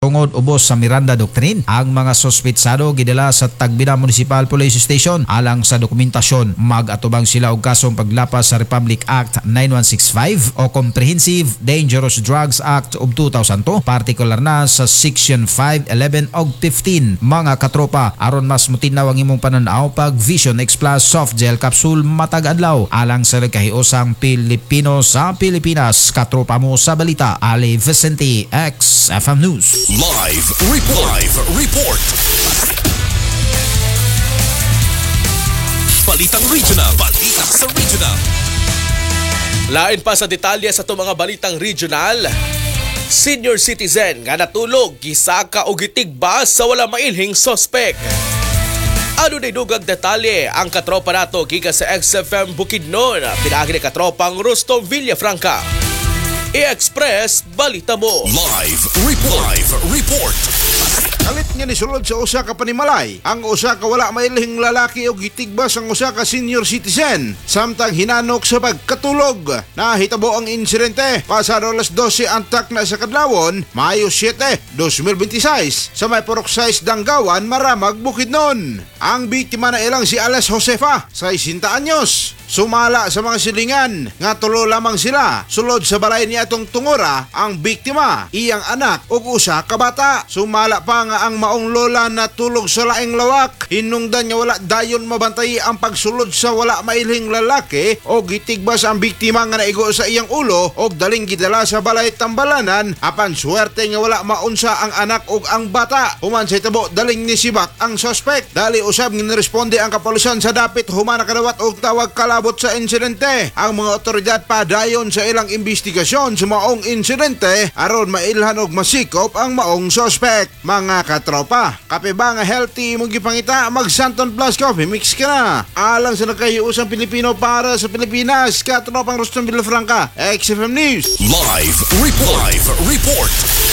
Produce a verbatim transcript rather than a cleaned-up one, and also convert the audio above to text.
tungod ubos sa Miranda Doctrine. Ang mga suspetsado gidala sa Tagbina Municipal Police Station alang sa dokumentasyon. Mag-atubang sila og kasong paglapas sa Republic Act nine one six five o Comprehensive Dangerous Drugs Act of two thousand two, partikular na sa Section five, eleven og fifteen. Mga katropa, aron mas mutinaw ang imong pananaw, pag Vision X Plus Soft Gel Capsule matag adlaw alang sa nagkahiusang Pilipino sa Pilipinas. Katropa mo sa balita, Ali Vicente, X F M News. Live Report. Live Report. Balitang Regional. Balita sa Regional. Lain pa sa detalye sa itong mga balitang regional. Senior citizen nga natulog, gisaka o gitigba sa wala mailhing sospek. Ano na dugang detalye ang katropa nato gikan sa X F M Bukidnon? Pinaagi ni katropang Rustom Villafranca. I-Express Balita Mo. Live Report. Live Report. Kalit nga nisulod sa usa ka panimalay ang usa ka wala mailhing lalaki og gitigbas ang usa ka senior citizen samtang hinanok sa pagkatulog. Nahitabo ang insidente pasado alas dose antak na sa kadlawon, Mayo siyete, dalawang libo bente sais, sa may Purok sais, Danggawan, Maramag, Bukidnon. Ang biktima na ilang si Ales Josefa, sesenta anyos. Sumala sa mga silingan nga tulo lamang sila sulod sa balay niya atong tungura: ang biktima, iyang anak ug usa ka bata. Sumala pa nga ang maong lola natulog sa laing lawak. Hinungdan nga wala dayon mabantay ang pagsulod sa wala mailhing lalaki o gitigbas ang biktima nga naigo sa iyang ulo og daling gidala sa balay tambalanan, apan suwerte nga wala maunsa ang anak ug ang bata. Human sa hitabo, daling nisibak ang suspect. Dali usab nga niresponde ang kapolisan sa dapit human nakadawat og tawag kalabot sa insidente. Ang mga otoridad padayon sa ilang investigasyon sa maong insidente aron mailhan og masikop ang maong suspect. Mga katropa, kape ba nga healthy imong gipangita? Mag Santon Plus Coffee Mix ka na. Alang sa nagkahiusang Pilipino para sa Pilipinas, katropang Rustom Villafranca, X F M News. Live Report. Live Report.